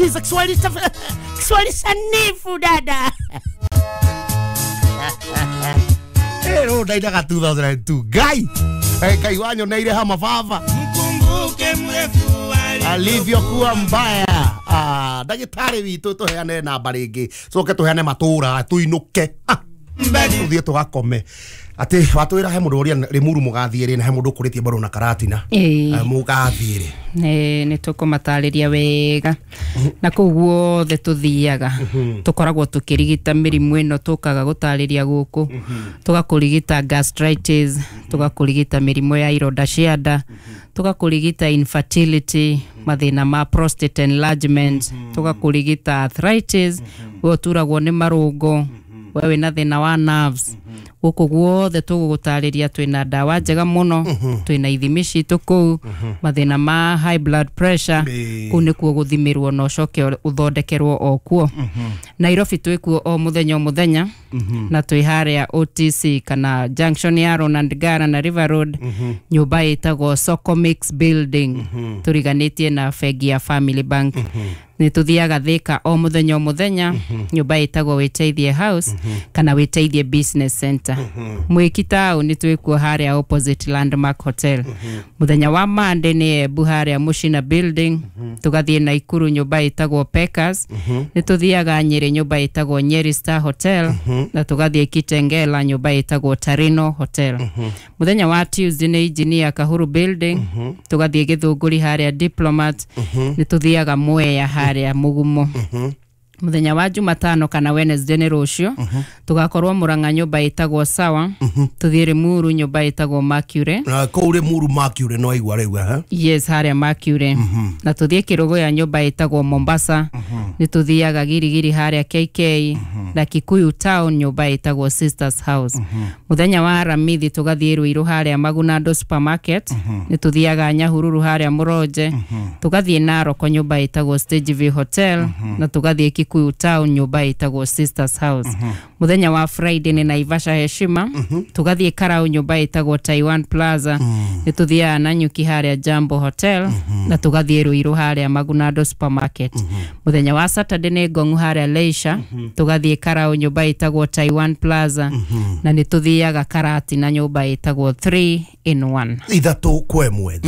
Kiswahili Kiswahili sanifu dada. Ero ndainaga 2002 Ngai Ngai wanyoneire hama baba Mkumbuke mrefu alivyokuwa mbaya. Ah, ndagĩtarĩ witũ tũheane namba rĩngĩ coke tũheane matũra tũinũke tũthiĩ tũgakome atĩ watwĩra he mũndũ ũrĩa Rĩmuru mũgathiĩ rĩ na he mũndũ ũkũrĩtie mbarũ na Karatina. Ĩĩ. Mũgathiĩ rĩ? Nĩ tũkũmatarĩria wega na kũu guothe tũthiaga tũkoragwo tũkĩrigita mĩrimũ ĩno tũkaga gũtarĩria gũkũ, tũgakũrigita gastritis, tũgakũrigita mĩrimũ ya ironda cia nda, tũgakũrigita infertility, mathĩna ma prostate enlargement, tũgakũrigita arthritis, we ũturagwo nĩ marũngo, we wĩna thĩna wa nerves. Gũkũ guothe tũgũgũtarĩria twĩna ndawa njega mũno, twĩna ithimi citũ kũu, mathĩna ma high blood pressure. Kũu nĩkuo gũthimĩrwo na ũcoke ũthondekerwo o kuo. Nairobi twĩkuo o mũthenya o mũthenya na twĩ harĩa OTC kana junction ya Ronald Ngara na River Road, nyũmba ĩtagwo Socomix Building, tũriganĩtie na bengi ya Family Bank. Nĩ tũthiaga Thika o mũthenya o mũthenya, nyũmba ĩtagwo Wĩteithie House kana Wĩteithie Business Center. Mwĩki taũni twĩkuo harĩa opposite Landmark Hotel. Mũthenya wa Monday nĩ Embu harĩa Mushina Building, tũgathiĩ Naikuru nyũmba ĩtagwo Pekas, nĩ tũthiaga Nyĩrĩ nyũmba ĩtagwo Nyeri Star Hotel, na tũgathiĩ Kitengela nyũmba ĩtagwo Tarino Hotel. Mũthenya wa Tuesday nĩ Engineer Kahuru Building, tũgathiĩ Gĩthũngũri harĩa Diplomat, nĩ tũthiaga Mwea harĩa Mũgumo. Mũthenya wa Jumatano kana Wednesday nĩ rũciũ, tũgakorwo Mũrang'a nyũmba ĩtagwo Sawa, tũthiĩ Limuru nyũmba ĩtagwo Mercury. Na kũu Rĩmuru Mercury no aigua rĩu eh? Yes, harĩa Mercury, na tũthiĩ Kĩrũgũya nyũmba ĩtagwo Mombasa, nĩ tũthiaga Girigiri harĩa KK na Kikuyu Town nyũmba ĩtagwo Sisters House. Mũthenya wa Aramithi tũgathiĩ Ruiru harĩa Magunando Supermarket, nĩ tũthiaga Nyahururu harĩa Mũronje, tũgathiĩ Naroko nyũmba ĩtagwo Stage View Hotel, na tũgathiĩ Kikuyu Town nyũmba ĩtagwo Sisters House. Mũthenya wa Friday nĩ Naivasha Heshima, tũgathiĩ Karau nyũmba ĩtagwo Taiwan Plaza, nĩ tũthiaga Nanyuki harĩa Jambo Hotel, na tũgathiĩ Ruiru harĩa Magunando Supermarket. Mũthenya wa Saturday nĩ Ngong'u harĩa Leisure, tũgathiĩ Karau nyũmba ĩtagwo Taiwan Plaza, na nĩ tũthiaga Karatina nyũmba ĩtagwo 3 in 1. Ithatũ kwa ĩmwe.